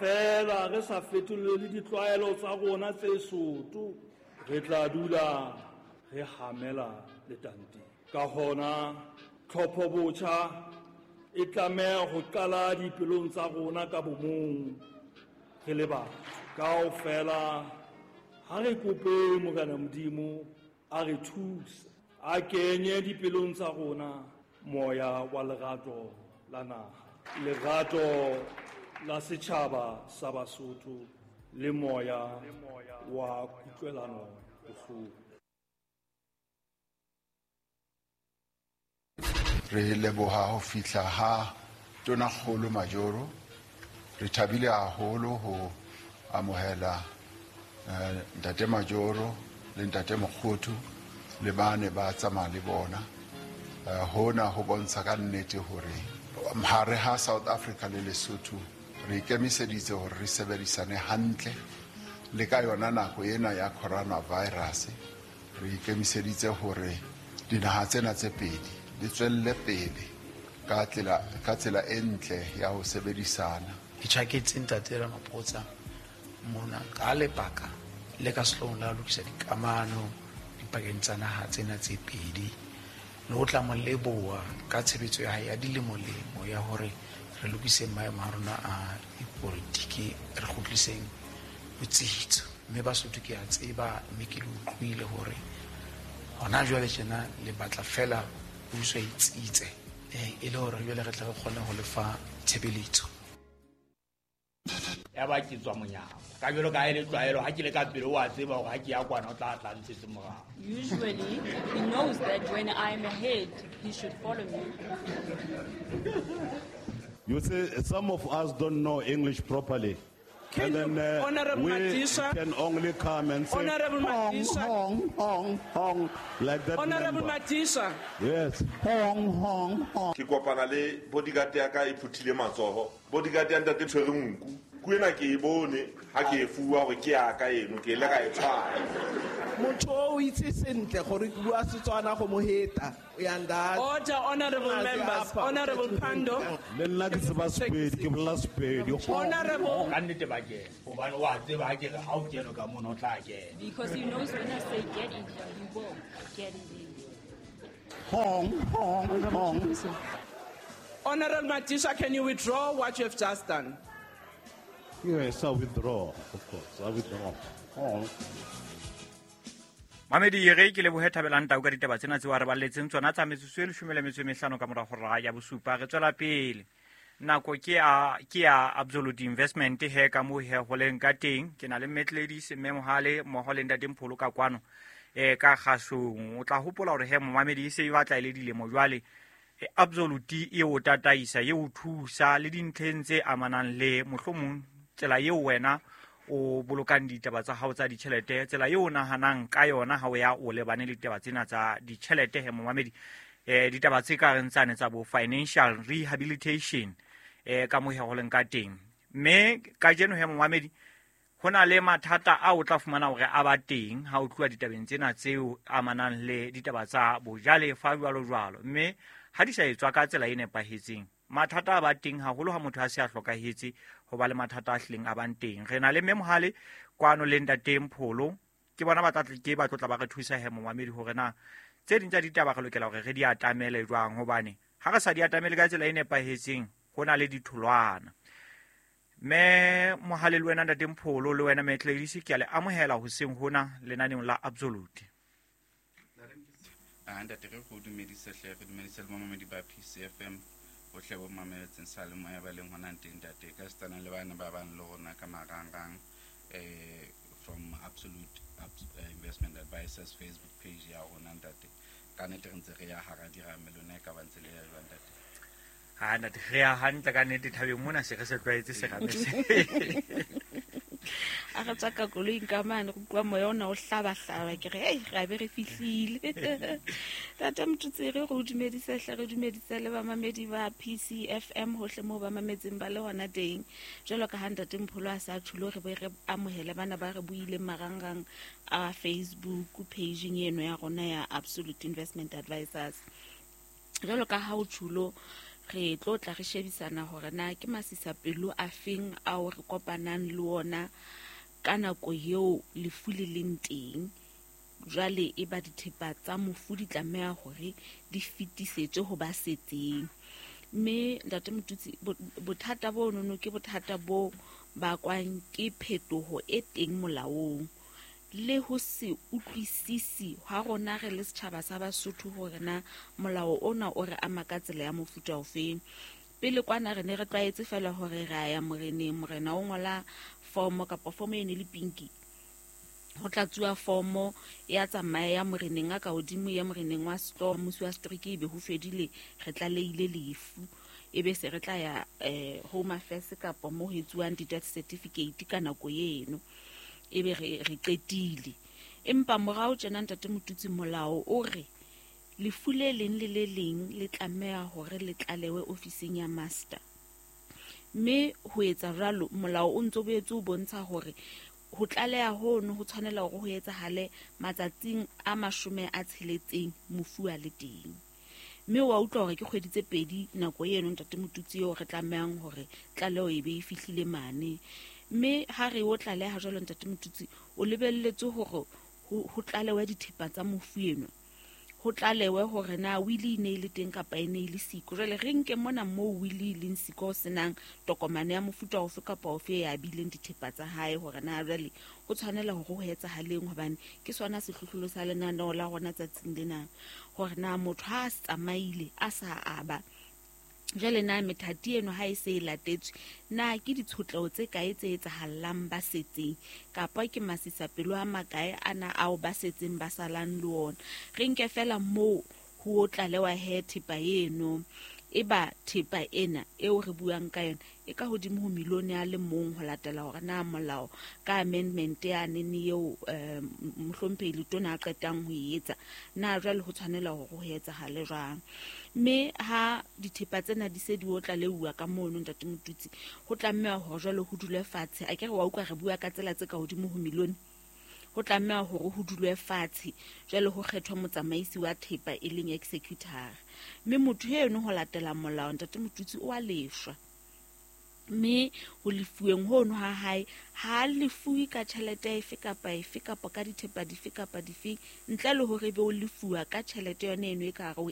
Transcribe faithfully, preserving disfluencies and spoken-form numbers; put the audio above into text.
Feela re sa fetolele ditlwaelo tsa rona tse soto, re tla dula re hamela letanteng. Ka hona tlhopho botjha e tlameha ho qala dipelong tsa rona ka bomong re le batho. Kaofela ha re kope Morena Modimo a re thuse, a kenye dipelong tsa rona moya wa lerato la naha, lerato la setjhaba sa Basotho le moya wa kutlwelano bohloko. Re leboha ho fihla ha Tonakgolo Majoro. Re thabile haholo ho amohela eh, Ntate Majoro le Ntate Mokgothu le bane ba tsamaya le bona. Eh, hona ho bontsha ka nnete hore hare ha South Africa le Lesotho re ikemiseditse hore re sebedisane hantle le ka yona nako ena ya coronavirus. Re ikemiseditse hore dinaha tsena tse pedi di tswelle pele ka tsela ka tsela e ntle ya ho sebedisana. Ke tjhaketse Ntate Ramaphosa mona ka lebaka le ka sehloohong la ho lokisa dikamano dipakeng tsa naha tsena tse pedi, le ho tla mo leboha ka tshebetso ya hae ya dilemolemo ya hore re lokise maemo a rona a dipolitiki, re kgutliseng botsitso. Mme Basotho ke a tseba, mme ke le utlwile hore hona jwale tjena le batla fela puso e tsitse, eh, e le hore jwale re tle re kgone ho lefa tshebeletso. Ya ba ke tswa monyako. Ka jwalo ka ha e le tlwaelo, ha ke le ka pele o a tseba hore ha ke ya kwana o tla tla ntshetse morao. Usually, he knows that when I'm ahead, he should follow me. You see, some of us don't know English properly. Can And then, uh, Honorable we Madisha, can only come and say, Honorable hong, Madisha. hong, hong, hong, like that. Honorable member. Madisha. Yes. Hong, hong, hong. Ke kopana le bodyguard ya ka e phuthile matsoho. Bodyguard ya ntate tshwere nku. Ku ena ke e bone ha ke e fuwa hore ke ya ka eno, ke ile ka e tshwara. Motho o itse sentle gore ke bua Setswana go mo heta. O ya nda. Order, honorable Aze members. apha, Honorable Pando. Le nna ke tseba Sepedi, ke bolela Sepedi. Honorable. Ka nnete ba kena. Hobane wa tseba ha ke re ha o kene ka mono o tla kena. Because he knows when I say get in here, he will get in there. Hong, hong, hong. Honorable Madisha, can you withdraw what you have just done? Yes, I withdraw, of course. I withdraw. Hong. Mamedi re ke lebohe Thabelang Tau ka ditaba tsena tseo a re balletseng tsona tsa metsotso e leshome le metso e mehlano ka mora hora ya bosupa. Re tswela pele. Nako ke ya, ke ya Absolute Investment he ka moo he ho leng ka teng. Ke na le Mme Gladys, Mme Mohale mmoho le Ntate Mpholo ka kwano, eh, ka kgasong. O tla hopola hore he momamedi e se e batla e le dilemo jwale. E, Absolute e o tataisa, e o thusa le dintlheng tse amanang le mohlomong tsela eo wena o bolokang ditaba tsa hao tsa ditjhelete, tsela eo o nahanang ka yona ha o ya o lebane le ditaba tsena tsa ditjhelete he momamedi. Eh, ditaba tse ka reng tsane tsa bo financial rehabilitation, eh, ka moo he ho leng ka teng. Mme kajeno he momamedi, ho na le mathata a o tla fumana hore a ba teng ha o tluwa ditabeng tsena tseo amanang le ditaba tsa bojalefa jwalo jwalo. Mme ha di sa etswa ka tsela e nepahetseng, mathata a ba teng haholo ha motho a se a hlokahetse, ho ba le mathata a hlileng a bang teng. Re na le Mme Mohale kwano le Ntate Mpholo, ke bona ba tla tle ke ba tlotla ba re thusa he momamedi hore na tse ding tsa ditaba re lokela hore re di atamele jwang, hobane ha re sa di atamele ka tsela e nepahetseng ho na le ditholwana. Mme Mohale le wena Ntate Mpholo le wena Mme Gladys, ke a le amohela hoseng hona lenaneong la Absolute. Ah, ntate, re go dumedise hle, re dumedise le mamamedi ba P C F M bohle bo mametseng sa le moya ba leng hona teng ntate, ka setsana le bana ba bang le rona ka marangrang, eh, from Absolute Abs-, eh, Investment Advisors Facebook page ya rona ntate. Ka nnete re ntse re ya hara dirame lona e ka ba ntse le ya jwang ntate? Ha ntate, re ya hantle ka nnete thabeng mona, se re se tlwaetse serame se. A re tswa ka koloing ka mane, go utlwa moya ona o hlabahlaba, ke re, hei, re a be re fihlile. Tata Motsotsere, re o dumedise hle, re dumedise le bamamedi ba P C F M hohle moo ba mametseng ba le hona teng. Jwalo ka ha Ntate Mpholo a sa tjhulo, re be re amohele bana ba re buileng marangrang a Facebook page-eng eno ya rona ya Absolute Investment Advisors. Jwalo ka ha o tjhulo, Re tlo tla re shebisana hore na ke masisapelo a feng ao re kopanang le ona ka nako eo lefu le leng teng. Jwale e ba dithepa tsa mofu di tlameha hore di fetisetswe ho ba setseng. Mme ntate Motutsi, bothata bo nono ke bothata bo bakwang ke phetoho e teng molaong le ho se utlwisisi ha rona re le setjhaba sa Basotho hore na molao ona o re ama ka tsela ya mofuta ofeng. Pele kwana re ne re tlwaetse fela hore re a ya moreneng, morena o ngola fomo kapa fomo e ne le pinki, ho tlatsuwa fomo ya tsamaya ya moreneng a ka hodimo ya moreneng wa sehlooho, mmusi wa setereke, ebe ho fedile, re tlalehile lefu, ebe se re tla ya eh, Home Affairs kapa mo ho etsuwang di-death certificate ka nako eno, ebe re re qetile. Empa morao tjena ntate Motutsi, molao o re lefu le leng le le leng le tlameha hore le tlalewe ofising ya master. Mme ho etsa jwalo, molao o ntso boetse o bontsha hore ho tlaleha hono ho tshwanela hore ho etsahale matsatsing a mashome a tsheletseng mofu a le teng. Mme wa utlwa hore ke kgwedi tse pedi nako eno ntate Motutsi eo re tlamehang hore tlaleho e be e fihlile mane. Mme ha re o tlaleha jwalo ntate Motutsi, o lebelletse hore ho tlalewe dithepa tsa mofu eno, ho tlalewe hore na wili e ne e le teng kapa e ne e le siko. Jwale re nke mona moo wili e leng siko ho senang tokomane ya mofuta ofe kapa ofe ya abileng dithepa tsa hae, hore na jwale ho tshwanela hore ho etsahaleng, hobane ke sona sehlohlolo sa lenaneo la rona tsatsing lena, hore na motho ha a tsamaile a sa aba, jwale na methati eno ha e se e latetswe, na ke ditshotleho tse kae tse etsahallang ba setseng, kapa ke masisapelo a makae ana ao ba setseng ba salang le ona. Re nke fela moo ho tlalewa he thepa eno, eba thepa ena eo re buang ka yona e ka hodimo ho milione a le mong, ho latela hore na molao ka amendment ya nene eo mohlomphehi Letona a qetang ho e etsa, na jwale ho tshwanela hore ho etsahale jwang. Mme ha dithepa tsena di se di o tlaleuwa ka mono ntate Motutsi, ho tlameha hore jwale ho dulwe fatshe. A ke re wa utlwa re bua ka tsela tse ka hodimo ho milione, ho tlameha hore ho dulwe fatshe jwale ho kgethwa motsamaisi wa thepa e leng executor. Mme motho eno ho latela molao ntate Motutsi o a lefshwa, mme ho lefuweng hono ha hae ha lefuwe ka tjhelete efe kapa efe kapa ka dithepa dife kapa dife, ntle le hore ebe o lefuwa ka tjhelete yona eno e ka hare ho